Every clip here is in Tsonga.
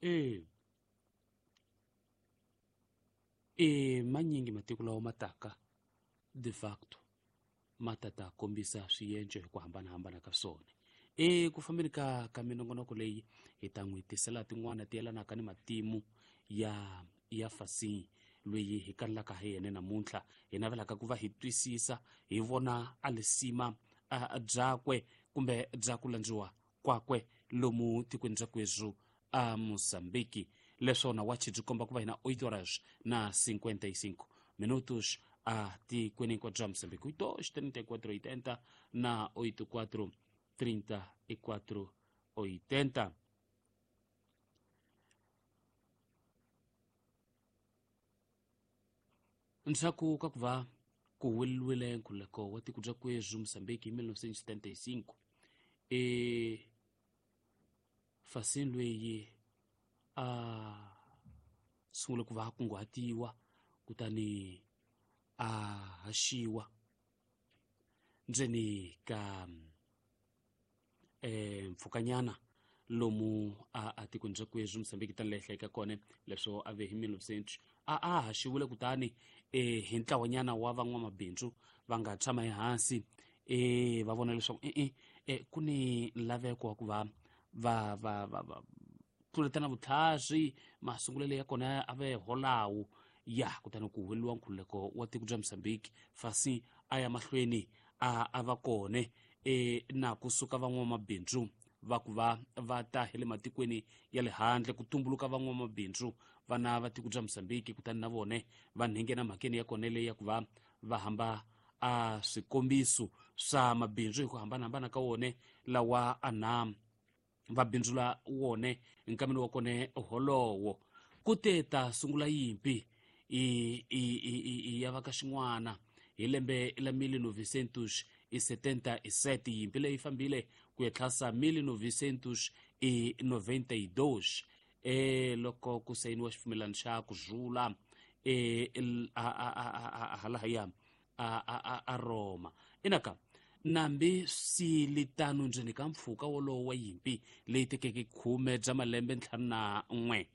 E e manyingi matiko lawa ma taka de facto ma ta ta kombisa swiendlo hi ku hambanahambana ka swona. Eku fambeni ka minongonoko leyi hi ta n'wi tisela tin'wana ti yelanaka ni matimu ya Fasi loyi hi kanelaka hi yena namuntlha, hi navelaka ku va hi twisisa hi vona a lisima byakwe kumbe bya ku landziwa kwakwe lomu tikweni bya kwezvu a Mozambique. Leswona wachi byi komba ku va hina 8 horas na 55 minutos a tikweni hinkwabyo bya Mozambique, 8 34 80 na 84 34 80. Ndzhaku ka ku va ku huweleriwile nkhululeko wa tiko bya kwezvu Mozambique hi 1975, e Fasini loyi a sungule ku va a kunguhatiwa kutani a haxiwa ndzeni ka mpfhukanyana lomu a tikweni bya kwezvu Mozambique tani leyi hlayeka kona leswo a ve hi 1900 a haxiwile kutani hi ntlawanyana wa van'wamabindzu va nga tshama ehansi va vona leswaku ku ni laveko wa ku va va va va va tluletana vutlhari masungulelo ya kona a ve holawo ya kutani ku huweleriwa nkhululeko wa tiko bya Mozambique. Fasi a ya mahlweni a va kone na kusuka van'wamabindzu va ku va va ta hi le matikweni ya le handle ku tumbuluka van'wamabindzu vana va tiko bya Mozambique, kutani na vone va nghena mhakeni ya kona leyi ya ku va va hamba a swikombiso swa mabindzu hi ku hambanahambana ka wone lawa ana va bindzula wone nkameni wa kone holowo. Ku te ta sungula yimpi i ya va ka xin'wana hi lembe la 1977, yimpi leyi fambile ku ya tlhasa 1992 loko ku sayiniwa xipfumelano xa ku rhula halahaya a Roma. Inaka nambi silitano ndzeni ka mpfhuka wolowo wa yimpi leyi tekeke 10 bya malembe 51,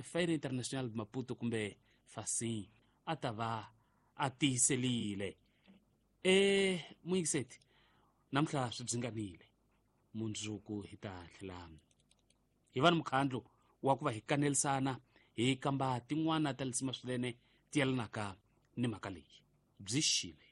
Feira International Maputo kumbe Fasin a ta va a tiyiselile. Muyingiseti, namuntlha swi byinganile, mundzuku hi ta tlhela hi va ni mukhandlu wa ku va hi kanelisana hi kamba tin'wana ta lisima swinene ti yelanaka ni mhaka leyi. Byi xile.